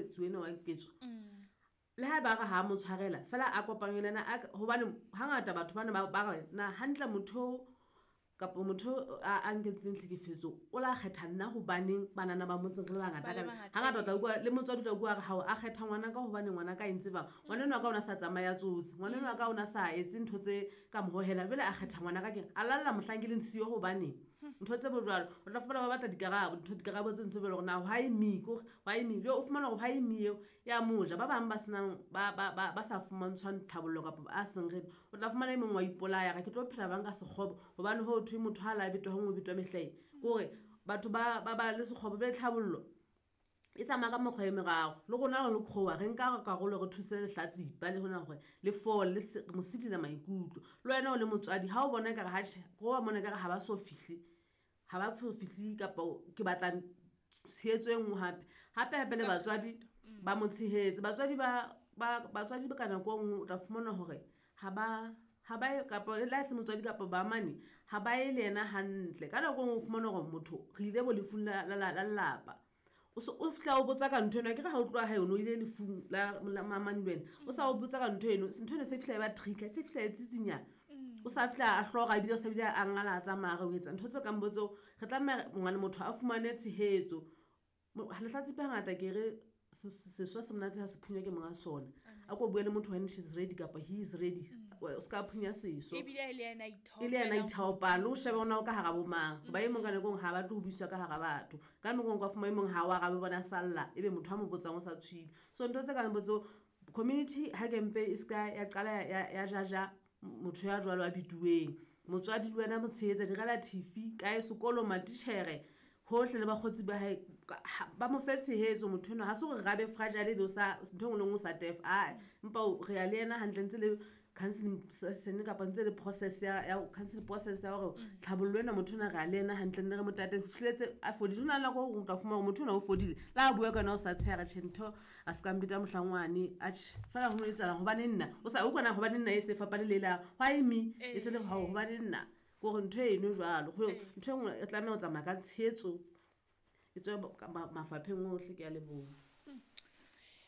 mohlekefetsi ena wa ketso le ha ba re ha mo tshwarela fela a kopanywe le ena hobane hangata batho bana ba re na hantle motho kapa motho a nketseng tlhekefetso o la kgetha nna hobaneng banana ba motseng re le bangata hangata o tla utlwa le motswadi o tla utlwa re hao a kgetha ngwana ka hobane ngwana ka e ntse bang ngwana enwa ka o na sa tsamaya tsotse ngwana enwa ka o na sa etse ntho tse ka mo hohela jwale a kgetha ngwana ka keng a lalla mohlang ke leng siyo hobaneng ntho tse bo jwalo o tla fumana ba batla dikarabo ntho dikarabo tse ntse jwalo gore na why me kore why me jo o fumana gore why me eo ya moja ba bang ba senang ba sa fumantshwang tlhabollo kapa a seng ready o tla fumana e mongwe wa ipolaya ga ke tlo phela bang ka sekgobo gobane go thwe motho ha la betwa gongwe betwa mehlae kore batho ba le sekgobo jale tlhabollo e tsamaya ka mekgwa e meraro le rona re le kgowa re nka karolo re thuse lehlatsipa le gona gore le fole le mosidila maikutlo le wena o le motswadi ga o bona kare hatšhe go wa mona kare ga ba so fihle ga ba so fihle kapa ke batla tshehetso e nngwe gape gape gape le batswadi ba mo tshehetse batswadi batswadi ka nako e nngwe o tla fumana gore ga ba ga ba kapa le ha e se motswadi kapa ba mane ga ba ye le yena hantle ka nako e nngwe o fumana gore motho re ile bo lefung la lelapa o se o fihla o botsa ka ntho eno akere ga o tloa ga yone o ile lefung la mamane le wena o sa o botsa ka ntho eno ntho eno se fihla e ba trigger se fihla e tsitsinya o sa fihla a hloga ebile o sa bile a ngala a tsamaya re o etsa ntho tse kang bo tseo re tlameha ngwana motho a fumane tshehetso lehlatsipa hangata ke re seswa se monate ha se phunya ke monga sona a ko bue le motho when she's ready kapa he is ready o se ka phunya seso e le ena ithaopang le o shebe gona o ka gara bomang ba e mong ka nakong ga batle go buiswa ka gara batho ka nakong ka fuma e mong ga o arabe bona salla e be motho a mo botsang o sa tshwile so ntho tse kang botso community ha kempe e se ka ya qala ya jaja motho ya jwalo a bituweng motswadi le wena mo tshehetsa di-relative kae sekolo matitjhere hohle le bakgotsi ba hae ba mo fe tshehetso motho enwa ga se gore rabe fragile e be o sa ntho e nngwe le nngwe o sa tef a empa re ya le ena hantle ntse le counseling session kapa ntse le process ya counseling process ya gore tlhabollo ena motho ena re a le ena hantle nne re mo tate fihletse a fodile ho na le nako o tla fumana gore motho ena o fodile le a bua ka yona o sa tshega tjhe ntho a se ka mbeta mohlangwane atjhe fela go no etsahalang gobane nna o sa o kwana gobane nna e se fapane le la why me e se le gao gobane nna kore ntho eno jwalo ntho e nngwe e tlameha go tsamaya ka tshehetso e tswe mafapheng ohle ke a leboha.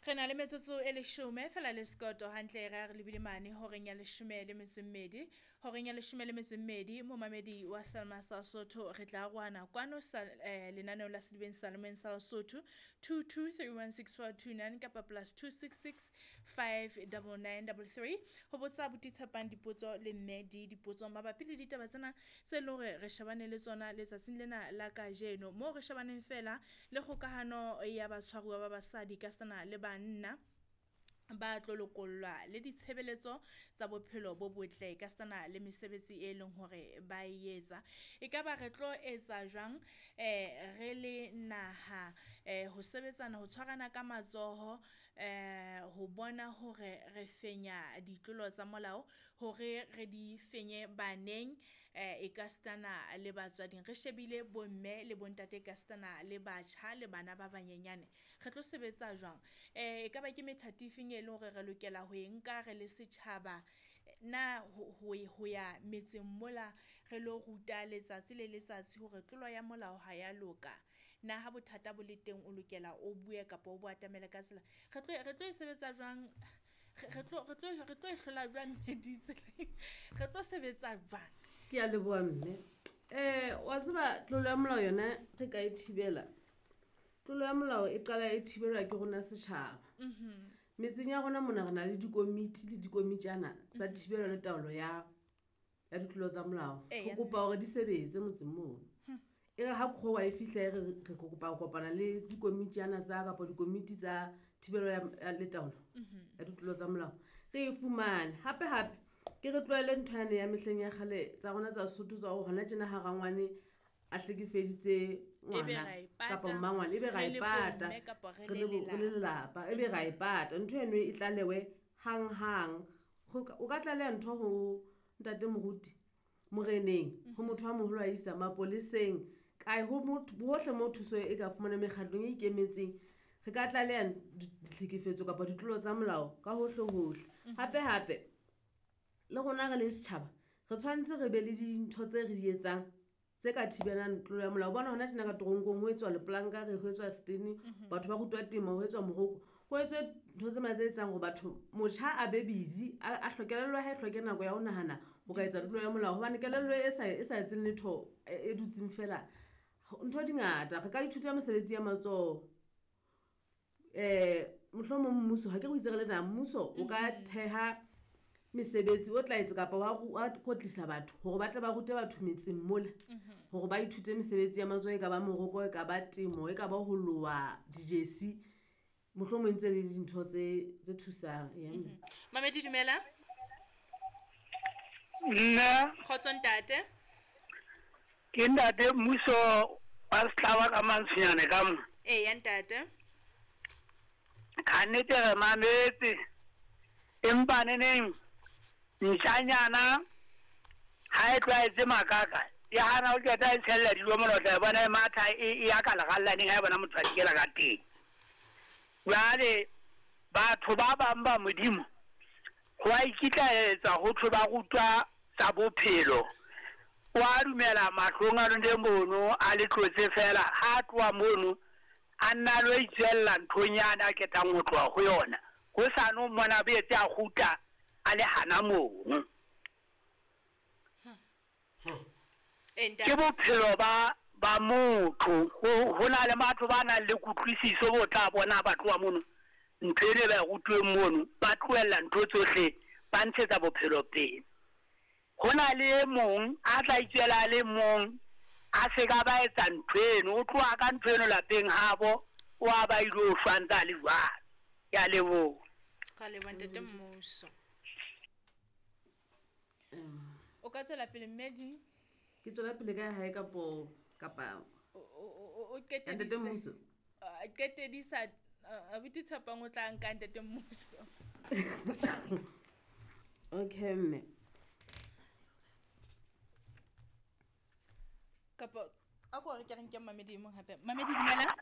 Re na le metsotso e leshome fela le sekoto hantle re re lebile mane horeng ya leshome le metso e mmedi horeng ya leshome le metso e mmedi momamedi wa Salma sa Sotho re tla arohana kwano sa lenaneo la Sedibeng Salomeng sa Lesotho 22316429 kapa plus 266 59933 ho botsa abuti Tshepang dipotso le mme di dipotso mabapi le ditaba tsena tse leng hore re shebane le tsona letsatsing lena la kajeno moo re shebaneng fela le kgokahano ya batshwaruwa ba basadi ka sena le banna ba tlo lokollwa le ditshebeletso tsa bophelo bo botle ka sena le mesebetsi e leng hore ba e etsa. Ekaba re tlo etsa jwang re le naha ho sebetsana ho tshwarana ka matsoho ho bona hore re fenya ditlolo tsa molao hore re di fenye baneng e ka sitana le batswading re shebile bomme le bontate ka sitana le batjha le bana ba banyenyane re tlo sebetsa jwang e ka ba ke methati efeng e leng hore re lokela ho e nka re le setjhaba na ho ya metseng mola re lo ruta letsatsi le letsatsi hore tlolo ya molao ha ya loka na ha bothata bo le teng o lokela o bue kapa o bo atamele ka tsela re tlo e sebetsa jwang re tlo e hlola jwang meditse re tlo sebetsa jwang. Ke a leboha mme wa tseba tlolo ya molao yona re ka e thibela tlolo ya molao e qala e thibelwa ke rona setjhaba. Metseng ya rona mona re na le dikomiti le dikomitjana tsa thibelo le taolo ya ditlolo tsa molao. Re kopa hore di sebetse motseng mono. E re ha kgowa e fihla e re kopa ho kopana le dikomitjana tsa kapa dikomiti tsa thibelo ya le taolo ya ditlolo tsa molao re e fumane. Hape hape ke re tlohele ntho yane ya mehleng ya kgale tsa rona tsa Sesotho tsa hore hona tjena ha rangwane a hlekefeditse ngwana kapa mmangwane ebe ra e pata re le lelapa ebe ra e pata ntho eno e tlalewe hanghang. O ka tlaleha ntho ho ntate moruti moreneng ho motho a moholo a isa mapoleseng kae ho motho bohle mo thuso e ka fumana mekgatlong e ikemetseng re ka tlaleha ditlhekefetso kapa ditlolo tsa molao ka hohle hohle. Hape hape le rona re le setjhaba re tshwanetse re be le dintho tse re di etsang tse Tse ka thibelang tlolo ya molao. Bona hona tjena ka toronkong ho etswa lepolanka, re ho etswa setene, batho ba rutwa temo, ho etswa moroko. Ho etswe ntho tse tse etsang hore batho, motjha a be busy, a kelello ya hae e hloke nako ya ho nahana ho ka etsa tlolo ya molao. Hobane kelello e sa etseng letho e dutseng feela, ntho di ngata. Re ka ithuta mesebetsi ya matsoho. Mohlomong mmuso, ha ke re o itse re le naha, mmuso o ka theha mesebetsi o tla etsa kapa wa kwetlisa batho hore ba tle ba rute batho metseng mola hore ba ithute mesebetsi ya matsoho, e ka ba moroko, e ka ba temo, e ka ba ho loha dijesi. Mohlomong e ntse le dintho tse thusang. Eya mme. Mamedi dumela. Nna. Kgotso ntate. Ke ntate mmuso wa Setlaba ka Mantsonyane ka mo. Eya ntate. Ka nnete re mametse, empa neneng ntjanyana ha e tlwaetse makaka, e hana ho qeta e tshella dijo mona, o tla e bona e matha e ya ka lerallaneng ha e bona motho a dikela ka teng. Jwale batho ba bang ba Modimo ho a ikitlaetsa ho thwe ba rutwa tsa bophelo. O a dumela mahlong a lone mono a le tlotse fela, ha a tloha mono a nna a lo itswella nthong yane a qetang ho tloha ho yona. Hosane o mmona a boetse a kgutla a le hana mono. Ke bophelo ba ba motho. Ho na le batho ba nang le kutlwisiso bo tla bona ba tloha mono, ntho eno e ba e rutuweng mono, ba tlohella ntho tsohle, ba ntshetsa bophelo pele. Ho na le e mong a tla itswela a le mong, a se ka ba etsa ntho eno, o tloha ka ntho eno lapeng habo, o a ba ilo shwa ntse a le jwalo. Ke a leboha. Ra leboha ntate Mmuso. O ka tswela pele mme di. Ke tswela pele ka hae kapo kapa o ntate Mmuso. Qetedisa abuti Tshepang o tla nka ntate Mmuso. Okay mme. Kapa a ko re ke re nke mamedi e mong hape. Mamedi dumela.